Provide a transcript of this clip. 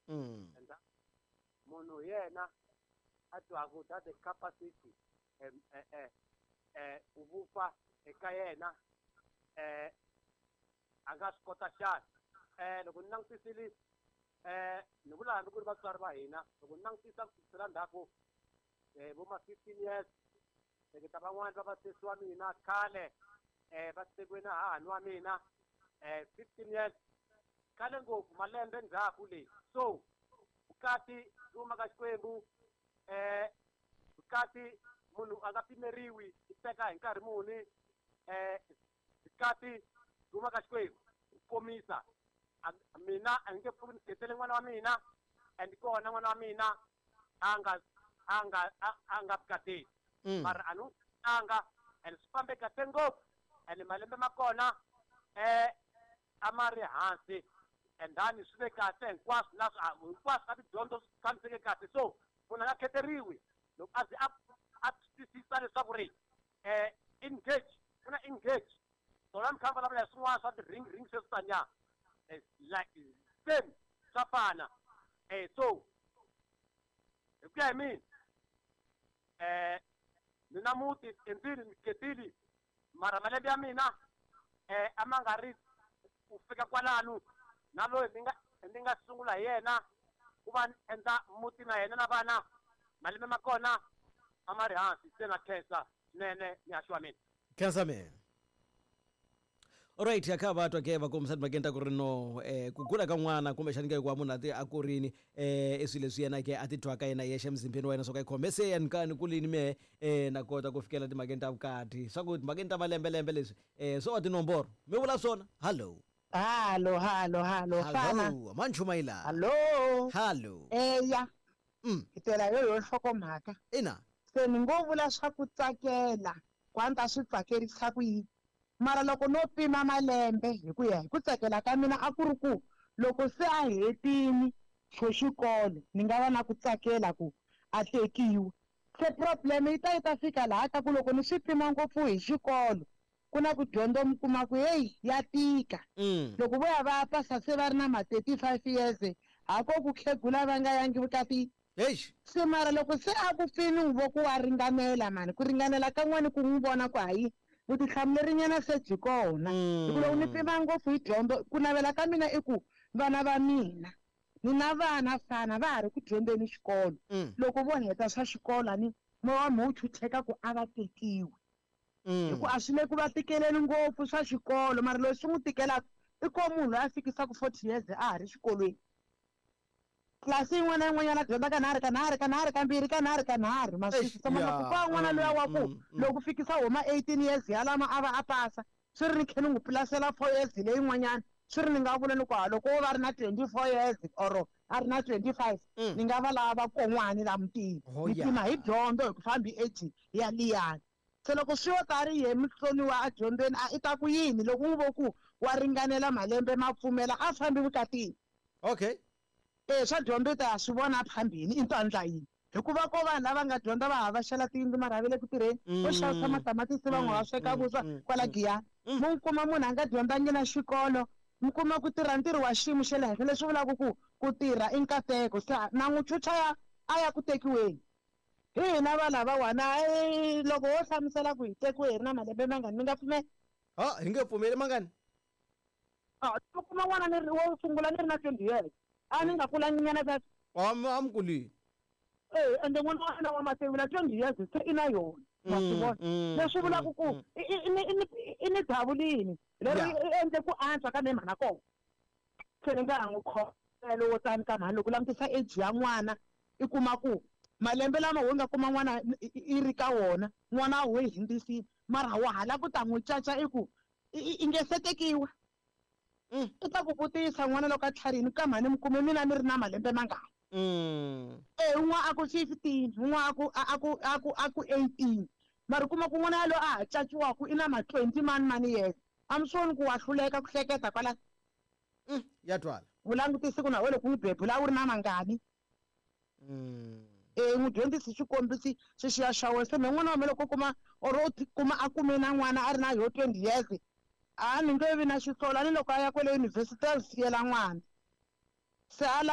And munhu hi yena a twaku that the capacity ku vupfa eka yena a nga swi kota xana. Loko ni langutisile ni vula hambi ku ri vatswari va hina, loko ni langutisa ku sukisela ndzhaku vo ma 15 years, hleketa van'wani va vasesi wa mina khale va tekiwe na hahani wa mina 15 years khale ngopfu malembe ndzhaku leyi. So vukati byi huma ka Xikwembu, vukati munhu a nga pimeriwi i teka hi nkarhi muni, vukati byi huma ka Xikwembu. Ku komisa mina a ni nge pfuki ni khetele n'wana wa mina, and kona n'wana wa mina a nga vukateni. Mara a ni n'wi anga, and swi fambe kahle ngopfu, and malembe ma kona a ma ri hansi, and then swi ve kahle hinkwaswo, na hinkwaswo ka tidyondzo swi tshamiseke kahle. So munhu a nga kheteriwi loko a ze a twisisa leswaku ri engage, ku na engage. Tona mi kha mi vulavula hi swin'wana swa ti-ring ring sweswi taniya, like same swa fana. So hi ku ya hi mina ni na muti endzeni ni ketile, mara malembe ya mina a ma nga ri ku fika kwalano na loyi ni nga sungula hi yena ku va ni endla muti na yena na vana, malembe ma kona a ma ri hansi. Se na khensa swinene mihaxo wa mina. Khensa mina. Alright, ya kha va twa ke va kombisa timhakeni ta ku ri no ku kula ka n'wana kumbexani ke ku va munhu a ti a kurini i swilo leswi yena ke a ti twaka yena yexe emzimbeni wa yena swo ka yi khome se ya ni ka ni kulini mehe na kota ku fikela timhakeni ta vukati swa ku timhakeni ta malembelembe leswi swo va tinomboro mi vula swona. Hallo. Hallo, hallo, hallo, fana. Hallo, manchumayila. Hallo. Hallo. Eya. Hi tela yo yo nhlokomhaka. Ina. Se ni ngo vula swa ku tsakela, ku a ni ta swi tsakerisa ku yini. Mara loko no pima malembe hi ku ya hi ku tsakela ka mina a ku ri ku loko se a hetini xo xikolo ni nga va na ku tsakela ku a tekiwa. Se problem yi ta yi ta fika laha ka ku loko ni swi pima ngopfu hi xikolo ku na ku dyondzo mi kuma ku heyi ya tika. Loko vo ya va ya pasa se va ri na ma 35 years ha ko ku khegula va nga yangi vukatini. Eish. Se mara loko se a ku pfini n'wi vo ku wa ringanela mani, ku ringanela ka n'wana ku n'wi vona ku hayi vutihlamuleri nyana se byi kona. Hi ku loko ni pima ngopfu hi dyondzo, ku navela ka mina i ku vana va mina ni na vana fana va ha ri ku dyondzeni xikolo. Loko vo heta swa xikolo a ni moya wa mina wu chucheka ku a va tekiwi. Hi ku a swi le ku va tikeleni ngopfu swa xikolo, mara loyi swi n'wi tikelaka i ko munhu loyi a fikisaka 40 years a ha ri xikolweni. Tlilasi yin'wana na yin'wanyana a dyondza kanharhu, kanharhu, kanharhu, kambirhi, kanharhu, kanharhu. Ma swi twisisa? Mara loko ko va n'wana luya wa ku loko fikisa huma 18 years yalama a va a pasa, swi ri ni khe ni n'wi pulasela 4 years leyin'wanyana, swi ri ni nga vula ni ku ha loko wo va ri na 24 years or a ri na 25, ni nga va lava kon'wani la mutini. Ni pima hi dyondzo hi ku fambi age ya liyani. Se loko swi yo ta ri ye mutsoniwa a dyondzweni a i ta ku yini loko n'wi vo ku wa ringanela malembe ma pfumela a fambi vukatini. Okay. Swa dyondzo i ta ya swi vona phambili i to endla yini. Hikuva ko vanhu lava nga dyondza va havaxela tiyindlu mara va le ku tirheni, vo xavisa matamatisi van'we va sweka vuswa kwala Giyani. Mo kuma munhu a nga dyondzangi na xikolo, mi kuma ku tirha ntirho wa xiyimo xa le henhla leswi vulaka ku ku tirha i nkateko. Se na n'wi chucha ya a ya ku tekiweni. Hi hina va lavawani loko ho hlamusela ku hi tekiwe hi ri na malembe mangani mi nga pfumela? Ha, hi nge pfumeli mangani? Mi kuma n'wana ni ri wo sungula ni ri na 20 years. A ni nga kulangi nyana sweswo. A mi kulile. Ende n'wana wa mina wa mativula 20 years se i na yona. Ma swi vona? Leswi vulaka ku i ni davulini leri i endle ku antswa ka me mhana kona. Se ni nga ha n'wi khomela wo tani ka mhani loko u langutisa age ya n'wana i kuma ku malembe lama wo nga kuma n'wana i ri ka wona n'wana wo yi hundzisile mara wa ha lava ku ta n'wi caca i ku i nge se tekiwa. I ta ku vutisa n'wana loko a tlharihini ka mhani mi kume mina ni ri na malembe mangani. Un'wana a ku 15, un'wana a ku a ku a ku a ku 18. Mara u kuma ku n'wana yaloye a ha caciwaka i na ma 20 mani mani years. A mi swi voni ku wa hluleka ku hleketa kwalano? Ya twala. U langutise ku na wena loko u n'wi bebula a wu ri na mangani? N'wi dyondzisi xikombiso xexiya xa wena. Se mehe n'wana wa mina loko o kuma or o kuma a kume na n'wana a ri na yo 20 years, a ni nge vi na xisolo. A ni loko a ya kwale yunivhesiti a siyela n'wana. Se a.